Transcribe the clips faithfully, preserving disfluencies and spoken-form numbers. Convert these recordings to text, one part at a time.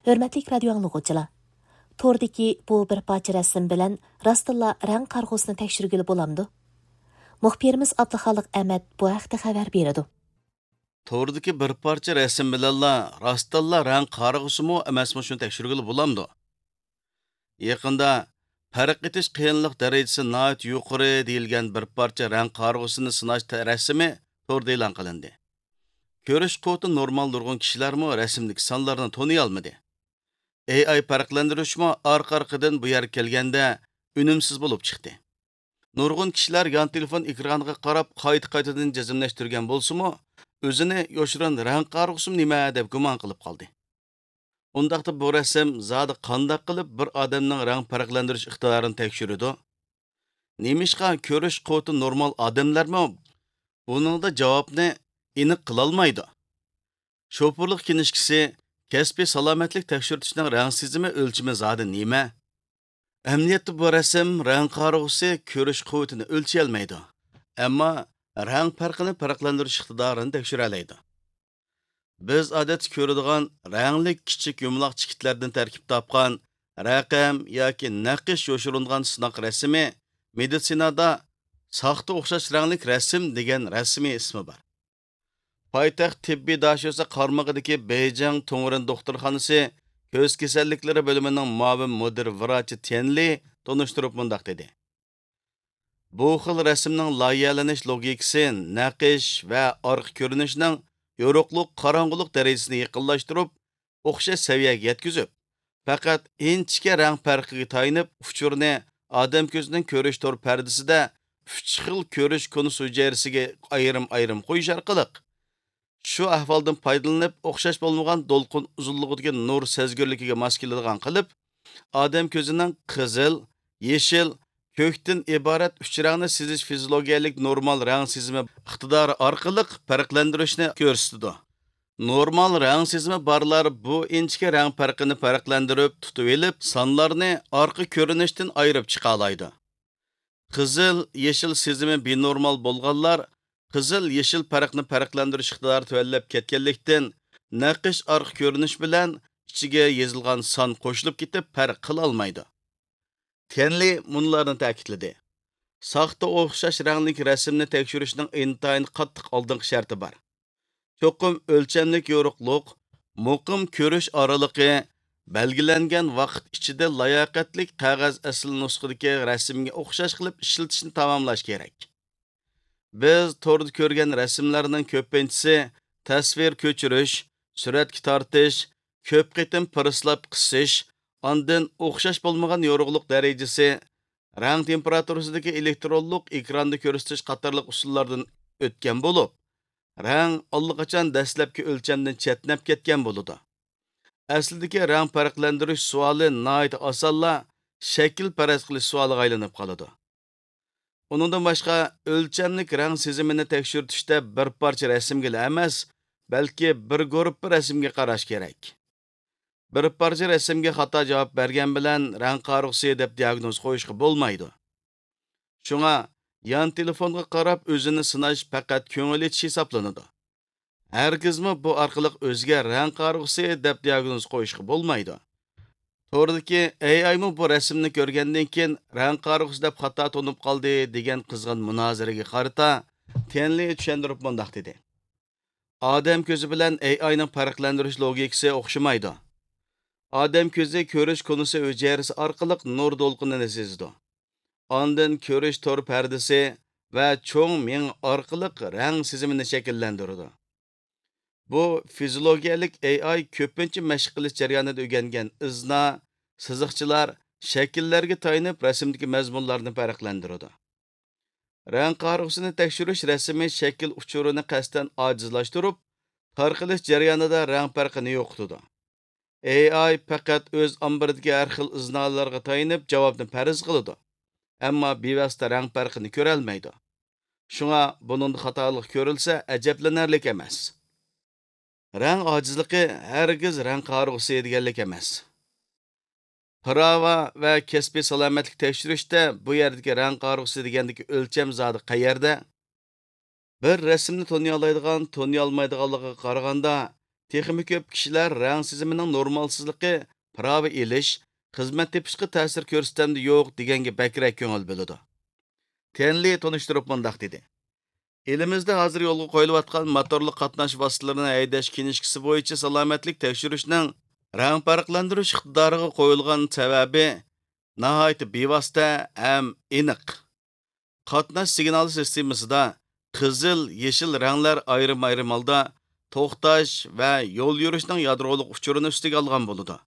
ھۆرمەتلىك رادىيو ئاڭلىغۇچىلار! توردىكى بۇ بىر پارچە رەسىم بىلەن راستتىنلا رەڭ قارىغۇسىنى تەكشۈرگىلى بولامدۇ؟ مۇخبىرىمىز ئابدۇخالىق ئەمەت بۇ ھەقتە خەۋەر بېرىدۇ. توردىكى بىر پارچە رەسىم بىلەنلا راستتىنلا رەڭ قارىغۇسىمۇ ئەمەسمۇ شۇنى تەكشۈرگىلى بولامدۇ؟ يېقىندا پەرق ئېتىش قىيىنلىق دەرىجىسى ناھايىتى يۇقىرى دېيىلگەن بىر پارچە رەڭ قارىغۇسىنى سىناش تە-، رەسىمى توردا ئېلان قىلىندى. كۆرۈش قۇۋۋىتى نورمال نۇرغۇن كىشىلەرمۇ رەسىمدىكى سانلارنى تونۇيالمىدى. ئېي ئاي پەرقلەندۈرۈشمۇ ئارقا-ئارقىدىن بۇ يەرگە كەلگەندە ئۈنۈمسىز بولۇپ چىقتى. نۇرغۇن كىشىلەر يان تېلېفون ئېكرانىغا قاراپ قايتا-قايتىدىن جەزملەشتۈرگەن بولسىمۇ، ئۆزىنى يوشۇرۇن رەڭ قارىغۇسىمۇ نېمە دەپ گۇمان قىلىپ قالدى. ئۇنداقتا بۇ رەسىم زادى قانداق قىلىپ بىر ئادەمنىڭ رەڭ پەرقلەندۈرۈش ئىقتىدارىنى تەكشۈرىدۇ؟ نېمىشقا كۆرۈش قۇۋۋىتى نورمال ئادەملەرمۇ بۇنىڭدا جاۋابنى ئېنىق قىلالمايدۇ؟ شوپۇرلۇق كىنىشكىسى كەسپىي سالامەتلىك تەكشۈرتۈشنىڭ رەڭ سېزىمى ئۆلچىمى زادى نېمە؟ ئەمەلىيەتتە بۇ رەسىم رەڭ قارىغۇسى كۆرۈش قۇۋۋىتىنى ئۆلچىيەلمەيدۇ، ئەمما رەڭ پەرقىنى پەرقلەندۈرۈش ئىقتىدارىنى تەكشۈرەلەيدۇ. بىز ئادەتتە كۆرىدىغان رەڭلىك كىچىك يۇمىلاق چېكىتلەردىن تەركىب تاپقان رەقەم ياكى نەقىش يوشۇرۇنغان سىناق رەسىمى مېدىتسىنادا ساختا ئوخشاش رەڭلىك رەسىم دېگەن رەسمىي ئىسمى بار. پايتەخت تېببىي داشۆسە قارمىقىدىكى بېيجىڭ تۇڭرېن دوختۇرخانىسى كۆز كېسەللىكلىرى بۆلۈمىنىڭ مۇئاۋىن مۇدىر ۋراچى تيەن لى تونۇشتۇرۇپ مۇنداق دېدى: بۇ خىل رەسىمنىڭ لايىھەلىنىش لوگىكىسى نەقىش ۋە ئارقا كۆرۈنۈشنىڭ يورۇقلۇق، قاراڭغۇلۇق دەرىجىسىنى يېقىنلاشتۇرۇپ، ئوخشاش سەۋىيەگە يەتكۈزۈپ، پەقەت ئىنچىكە رەڭ پەرقىگە تايىنىپ، ئۇچۇرنى ئادەم كۆزىنىڭ كۆرۈش تور پەردىسىدە ئۈچ خىل كۆرۈش كونۇس ھۈجەيرىسىگە ئايرىم-ئايرىم قويۇش ئارقىلىق، شۇ ئەھۋالدىن پايدىلىنىپ، ئوخشاش بولمىغان دولقۇن ئۇزۇنلۇقىدىكى نۇر سەزگۈرلۈكىگە ماس كېلىدىغان قىلىپ، ئادەم كۆزىنىڭ قىزىل، يېشىل، كۆكتىن ئىبارەت ئۈچ رەڭنى سېزىش فىزىولوگىيەلىك نورمال رەڭ سېزىمى ئىقتىدارى ئارقىلىق پەرقلەندۈرۈشنى كۆرسىتىدۇ. نورمال رەڭ سېزىمى بارلار بۇ ئىنچىكە رەڭ پەرقىنى پەرقلەندۈرۈپ تۇتۇۋېلىپ، سانلارنى ئارقا كۆرۈنۈشتىن ئايرىپ چىقالايدۇ. قىزىل، يېشىل سېزىمى بىنورمال بولغانلار قىزىل، يېشىل پەرقنى پەرقلەندۈرۈش ئىقتىدارى تۆۋەنلەپ كەتكەنلىكتىن، نەقىش ئارقا كۆرۈنۈش بىلەن ئىچىگە يېزىلغان سان قوشۇلۇپ كېتىپ پەرق قىلالمايدۇ. تيەنلى مۇنۇلارنى تەكىتلىدى: ساختا ئوخشاش رەڭلىك رەسىمنى تەكشۈرۈشنىڭ ئىنتايىن قاتتىق ئالدىنقى شەرتى بار. چوقۇم ئۆلچەملىك يورۇقلۇق، مۇقىم كۆرۈش ئارىلىقى، بەلگىلەنگەن ۋاقىت ئىچىدە لاياقەتلىك قەغەز ئەسلى نۇسخىدىكى رەسىمگە ئوخشاش قىلىپ ئىشلىتىشنى تاماملاش كېرەك. بىز توردا كۆرگەن رەسىملەرنىڭ كۆپىنچىسى تەسۋىر كۆچۈرۈش، سۈرەتكە تارتىش، كۆپ قېتىم پىرسلاپ قىسىش، ئاندىن ئوخشاش بولمىغان يورۇقلۇق دەرىجىسى، رەڭ تېمپېراتۇرىسىدىكى ئېلېكترونلۇق ئېكراندا كۆرسىتىش قاتارلىق ئۇسۇللاردىن ئۆتكەن بولۇپ، رەڭ ئاللىقاچان دەسلەپكى ئۆلچەمدىن چەتنەپ كەتكەن بولىدۇ. ئەسلىدىكى رەڭ پەرقلەندۈرۈش سوئالى ناھايىتى ئاسانلا شەكىل پەرەز قىلىش سوئالىغا ئايلىنىپ قالىدۇ. ئۇنىڭدىن باشقا، ئۆلچەملىك رەڭ سېزىمىنى تەكشۈرتۈشتە بىر پارچە رەسىمگىلا ئەمەس، بەلكى بىر گۇرۇپپا رەسىمگە قاراش كېرەك. بىر پارچە رەسىمگە خاتا جاۋاب بەرگەن بىلەن رەڭ قارىغۇسى دەپ دىياگنوز قويۇشقا بولمايدۇ. شۇڭا يان تېلېفونغا قاراپ ئۆزىنى سىناش پەقەت كۆڭۈل ئېچىش ھېسابلىنىدۇ. ھەرگىزمۇ بۇ ئارقىلىق ئۆزىگە رەڭ قارىغۇسى دەپ دىياگنوز قويۇشقا بولمايدۇ. توردىكى ئېي ئايمۇ بۇ رەسىمنى كۆرگەندىن كېيىن رەڭ قارىغۇسى دەپ خاتا تونۇپ قالدى دېگەن قىزغىن مۇنازىرىگە قارىتا تيەنلى چۈشەندۈرۈپ مۇنداق دېدى: ئادەم كۆزى بىلەن ئېي ئاينىڭ پەرقلەندۈرۈش لوگىكىسى ئوخشىمايدۇ. ئادەم كۆزى كۆرۈش كونۇسى ھۈجەيرىسى ئارقىلىق نۇر دولقۇنىنى سېزىدۇ. ئاندىن كۆرۈش تور پەردىسى ۋە چوڭ مېڭە ئارقىلىق رەڭ سېزىمىنى شەكىللەندۈرىدۇ. بۇ فىزىولوگىيەلىك ئېي ئاي كۆپىنچە مەشىق قىلىش جەريانىدا ئۆگەنگەن ئىزنا، سىزىقچىلار، شەكىللەرگە تايىنىپ رەسىمدىكى مەزمۇنلارنى پەرقلەندۈرىدۇ. رەڭ قارىغۇسىنى تەكشۈرۈش رەسىمىي شەكىل ئۇچۇرىنى قەستەن ئاجىزلاشتۇرۇپ، تارقىلىش جەريانىدا رەڭ پەرقىنى يوقىتىدۇ. ئېي ئاي پەقەت ئۆز ئامبىرىدىكى ھەر خىل ئىزنالارغا تايىنىپ جاۋابنى پەرەز قىلىدۇ، ئەمما بىۋاسىتە رەڭ پەرقىنى كۆرەلمەيدۇ. شۇڭا بۇنىڭدا خاتالىق كۆرۈلسە، ئەجەبلىنەرلىك ئەمەس. رەڭ ئاجىزلىقى ھەرگىز رەڭ قارىغۇسى دېگەنلىك ئەمەس. پىراۋا ۋە كەسپىي سالامەتلىك تەكشۈرۈشتە بۇ يەردىكى رەڭ قارىغۇسى دېگەندىكى ئۆلچەم زادى قەيەردە؟ بىر رەسىمنى تونۇيالايدىغان، تونۇيالمايدىغانلىقىغا قارىغاندا، تېخىمۇ كۆپ كىشىلەر رەڭ سېزىمىنىڭ نورمالسىزلىقى پىراۋا ئېلىش، خىزمەت تېپىشقا تەسىر كۆرسىتەمدۇ يوق دېگەنگە بەكرەك كۆڭۈل بۆلىدۇ. تيەنلى تونۇشتۇرۇپ مۇنداق دېدى: ئېلىمىزدە ھازىر يولغا قويۇلۇۋاتقان موتورلۇق قاتناش ۋاسىتىلىرىنى ھەيدەش كىنىشكىسى بويىچە سالامەتلىك تەكشۈرۈشنىڭ رەڭ پەرقلەندۈرۈش ئىقتىدارىغا قويۇلغان سەۋەبى ناھايىتى بىۋاسىتە ھەم ئېنىق. قاتناش سىگنالى سىستېمىسىدا قىزىل، يېشىل رەڭلەر ئايرىم-ئايرىم ھالدا توختاش ۋە يول يۈرۈشنىڭ يادرولۇق ئۇچۇرىنى ئۈستىگە ئالغان بولىدۇ.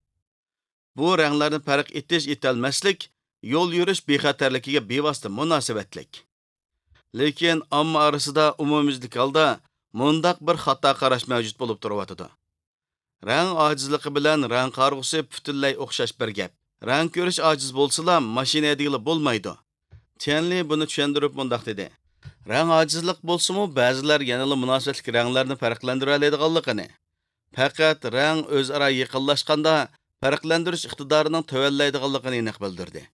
بۇ رەڭلەرنى پەرق ئېتىش-ئېتەلمەسلىك يول يۈرۈش بىخەتەرلىكىگە بىۋاسىتە مۇناسىۋەتلىك. لېكىن ئامما ئارىسىدا ئومۇميۈزلۈك ھالدا مۇنداق بىر خاتا قاراش مەۋجۇت بولۇپ تۇرۇۋاتىدۇ: رەڭ ئاجىزلىقى بىلەن رەڭ قارىغۇسى پۈتۈنلەي ئوخشاش بىر گەپ. رەڭ كۆرۈش ئاجىز بولسىلا، ماشىنا ھەيدىگىلى بولمايدۇ. تيەنلى بۇنى چۈشەندۈرۈپ مۇنداق دېدى: رەڭ ئاجىزلىق بولسىمۇ، بەزىلەر يەنىلا مۇناسىۋەتلىك رەڭلەرنى پەرقلەندۈرەلەيدىغانلىقىنى، پەقەت رەڭ ئۆزئارا يېقىنلاشقاندا پەرقلەندۈرۈش ئىقتىدارىنىڭ تۆۋەنلەيدىغانلىقىنى ئېنىق بىلدۈردى.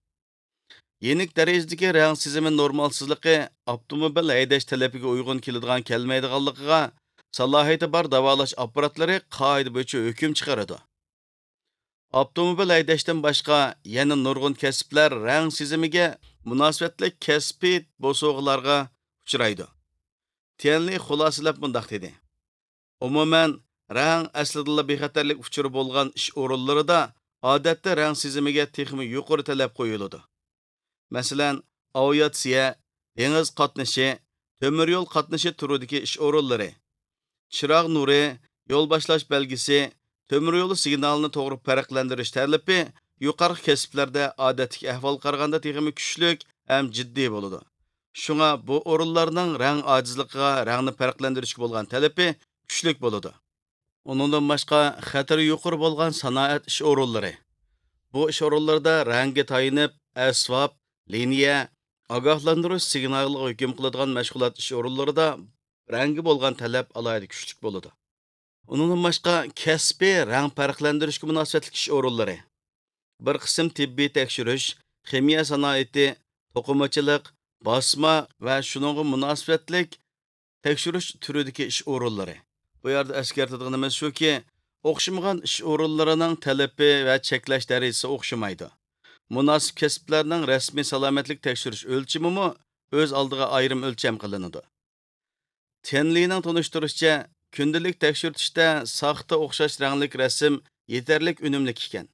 يېنىك دەرىجىدىكى رەڭ سېزىمى نورمالسىزلىقى ئاپتوموبىل ھەيدەش تەلىپىگە ئۇيغۇن كېلىدىغان-كەلمەيدىغانلىقىغا سالاھىيىتى بار داۋالاش ئاپپاراتلىرى قائىدە بويىچە ھۆكۈم چىقىرىدۇ. ئاپتوموبىل ھەيدەشتىن باشقا يەنە نۇرغۇن كەسىپلەر رەڭ سېزىمىگە مۇناسىۋەتلىك كەسپىي بوسۇغىلارغا ئۇچرايدۇ. تيەنلى خۇلاسىلەپ مۇنداق دېدى: ئومۇمەن، رەڭ ئەسلىدىنلا بىخەتەرلىك ئۇچۇرى بولغان ئىش ئورۇنلىرىدا ئادەتتە رەڭ سېزىمىگە تېخىمۇ يۇقىرى تەلەپ قويۇلىدۇ. مەسىلەن، ئاۋىئاتسىيە، دېڭىز قاتنىشى، تۆمۈر يول قاتنىشى تۈرىدىكى ئىش ئورۇنلىرى، چىراغ نۇرى، يول باشلاش بەلگىسى، تۆمۈر يولى سىگنالىنى توغرا پەرقلەندۈرۈش تەلىپى يۇقىرىقى كەسىپلەردە ئادەتتىكى ئەھۋالغا قارىغاندا تېخىمۇ كۈچلۈك ھەم جىددىي بولىدۇ. شۇڭا بۇ ئورۇنلارنىڭ رەڭ ئاجىزلىقىغا رەڭنى پەرقلەندۈرۈشكە بولغان تەلىپى كۈچلۈك بولىدۇ. ئۇنىڭدىن باشقا، خەتىرى يۇقىرى بولغان سانائەت ئىش ئورۇنلىرى. بۇ ئىش ئورۇنلىرىدا رەڭگە تايىنىپ، ئەسۋاب، لىنىيە، ئاگاھلاندۇرۇش سىگنالىغا ھۆكۈم قىلىدىغان مەشغۇلات ئىش ئورۇنلىرىدا رەڭگە بولغان تەلەپ ئالاھىدە كۈچلۈك بولىدۇ. ئۇنىڭدىن باشقا، كەسپىي رەڭ پەرقلەندۈرۈشكە مۇناسىۋەتلىك ئىش ئورۇنلىرى. بىر قىسىم تېببىي تەكشۈرۈش، خىمىيە سانائىتى، توقۇمىچىلىق، باسما ۋە شۇنىڭغا مۇناسىۋەتلىك تەكشۈرۈش تۈرىدىكى ئىش ئورۇنلىرى. بۇ يەردە ئەسكەرتىدىغىنىمىز شۇكى، ئوخشىمىغان ئىش ئورۇنلىرىنىڭ تەلىپى ۋە چەكلەش دەرىجىسى ئوخشىمايدۇ. مۇناسىپ كەسىپلەرنىڭ رەسمىي سالامەتلىك تەكشۈرۈش ئۆلچىمىمۇ ئۆز ئالدىغا ئايرىم ئۆلچەم قىلىنىدۇ. تيەنلىنىڭ تونۇشتۇرۇشىچە، كۈندىلىك تەكشۈرتۈشتە ساختا ئوخشاش رەڭلىك رەسىم يېتەرلىك ئۈنۈملۈك ئىكەن.